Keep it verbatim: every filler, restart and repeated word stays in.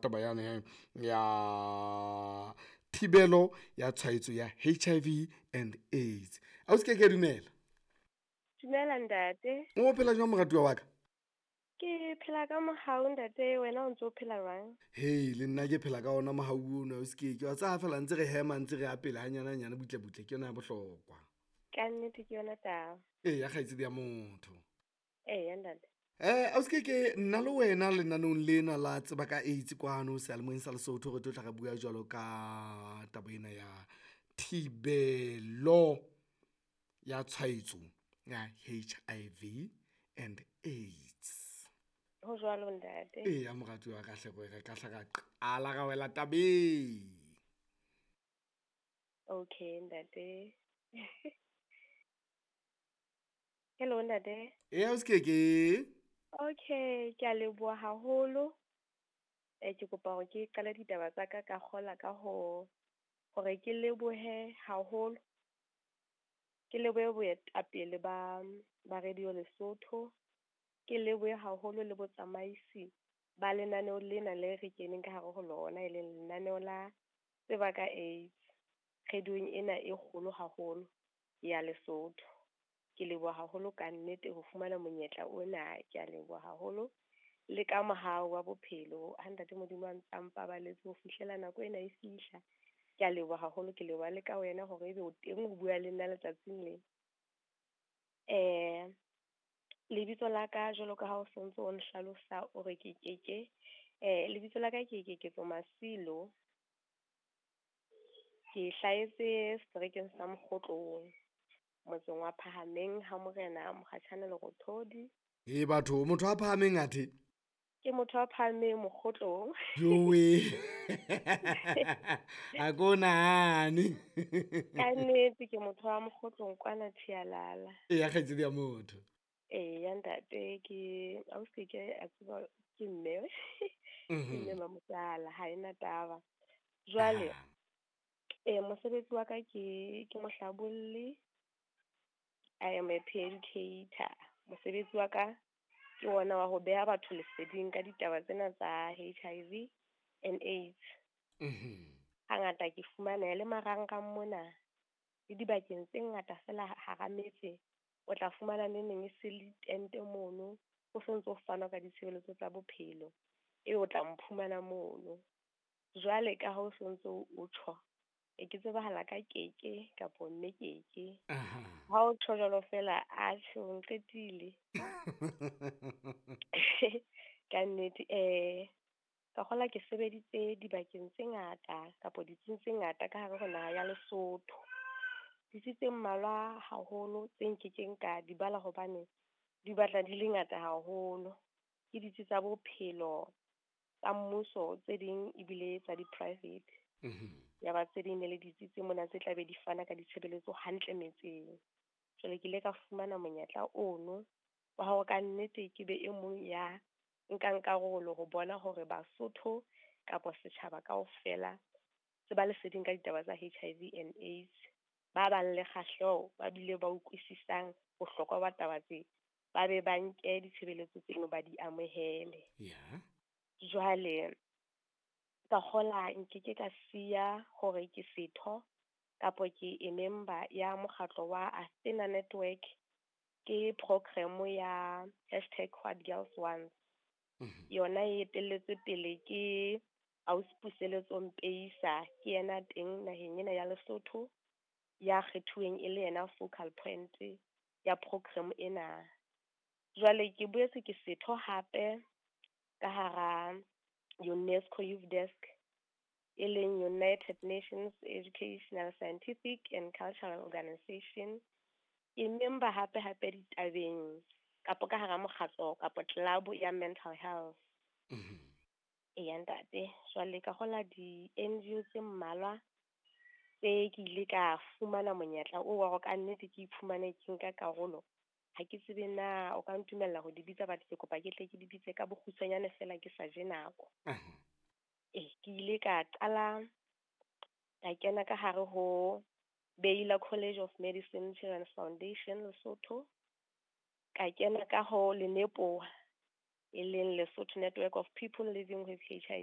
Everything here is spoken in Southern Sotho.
Taba yane ya thibelo ya tshwaetso ya H I V and AIDS. Ausi Keke, dumela. Dumela, ntate. O phela jwang, moratuwa wa ka? Ke phela ka mohau, ntate. Wena o ntso o phela jwang? Hei, le nna ke phela ka ona mohau ono, ausi Keke. Wa tseba, fela ntse re hema, ntse re ya pele hanyane hanyane, butle butle, ke yona ya bohlokwa. Ka nnete, ke yona taba. Eya, kgaitsedi ya motho. Eya, ntate. Eh ausi Keke, nna le wena lenaneong lena la Tseba ka AIDS kwano seyalemoyeng sa Lesotho, re tlo tla re bua jwalo ka taba ena ya thibelo ya tshwaetso ya H I V and AIDS. Ho jwalo, ntate. Eya, moratuwa wa ka hle, re ka hla ra qala ra wela tabeng. Okay, ntate. Hello, ntate. Eya, ausi Keke. Okay, ke a leboha haholo. Eh ke kopa hore ke qale ditaba tsa ka ka kgola ka ho hore ke lebohe haholo. Ke lebohe boetapele ba ba Radio Lesotho. Ke lebohe haholo le botsamaisi ba lenaneo lena le re keneng ka hare ho lona, e leng lenaneo la Tseba ka AIDS. Radiong ena e kgolo haholo ya Lesotho. Ke leboha haholo ka nnete ho fumana monyetla ona, ke a leboha haholo. Le ka mohau wa bophelo ha ntate Modimo a ntsa mpabaletse ho fihlela nako ena e fihla. Ke a leboha haholo, ke leboha le ka wena hore ebe o teng ho bua le nna letsatsing lena. Eh lebitso la ka, jwalo ka ha o sontso o nhlalosa o re ke Keke, eh lebitso la ka ke Keketso Masilo. Ke hlahetse seterekeng sa Mokgotlong, motseng wa Phahameng ha Morena Mokgatjhane Lerothodi. E batho, motho a phahameng athe? Ke motho a phahameng, Mokgotlong. Jowe, a ko nahane. Ka nnete, ke motho wa Mokgotlong kwana Thialala. Eya, kgaitsedi ya motho. Eya, ntate, ke ausi ke a tseba ke mme. Ke mme mamotsala, ha ena taba. Jwale eh mosebetsi wa ka ke ke mohlabolli. I am a peer educator. Mosebetsi wa ka ke ona wa ho beha batho leseding ka ditaba tsena tsa H I V and AIDS. Hangata ke fumaneha le marangrang mona le dibakeng tse ngata fela hara metse. O tla fumana neneng e se le tente mono, ho sontso ho fanwa ka ditshebeletso tsa bophelo. Ebe o tla mphumana mono. Jwale ka ha o sontso o tjho, e ke tsebahala ka Keke kapo mme Keke. Ha o tjho jwalo fela, atjhe, o nqetile. Ka nnete, eh ka kgola ke sebeditse dibakeng tse ngata kapo ditsing tse ngata ka hare ho naha ya Lesotho. Ditsi tse mmalwa haholo tse nkekeng ka di bala hobane di batla di le ngata haholo. Ke ditsi tsa bophelo tsa mmuso, tse ding ebile tsa di-private. Ya ba tse ding ne le ditsi tse mona tse tla be di fana ka ditshebeletso hantle metseng. Jwale ke ile ka fumana monyetla ono wa hore ka nnete ke be e mong ya nkang karolo ho bona hore Basotho kapa setjhaba kaofela se ba leseding ka ditaba tsa H I V and AIDS. Ba bang le kgahleho, ba bile ba utlwisisang bohlokwa ba taba tse, ba be ba nke ditshebeletso tseno, ba di amohele. Ya. Jwale ka kgola nkeke ka siya hore ke setho kapo ke e member ya mokgatlo wa Athena Network, ke program ya hashtag what girls want. Yona e etelletswe pele ke ausi Puseletso Mpeisa, ke yena teng naheng ena ya Lesotho ya kgethuweng e le yena focal point ya program ena. Jwale ke boetse ke setho hape ka hara UNESCO Youth Desk, e leng United Nations Educational, Scientific and Cultural Organization. Ke member hape hape ditabeng kapo ka hara mokgatlo kapo club ya mental health. Eya, ntate, jwale ka hola di-N G O tse mmalwa tse ke ile ka fumana monyetla oo wa hore ka nnete ke iphumane ke nka karolo. Ha ke tsebe na o ka ntumella ho di bitsa, but ke kopa ke tle ke di bitse ka bokgutshwanyane fela, ke sa je nako. Eh ke ile ka qala ka kena ka hare ho Baylor College of Medicine Children's Foundation Lesotho. Ka kena ka ho Lenepoa, e leng Lesotho Network of People Living with H I V.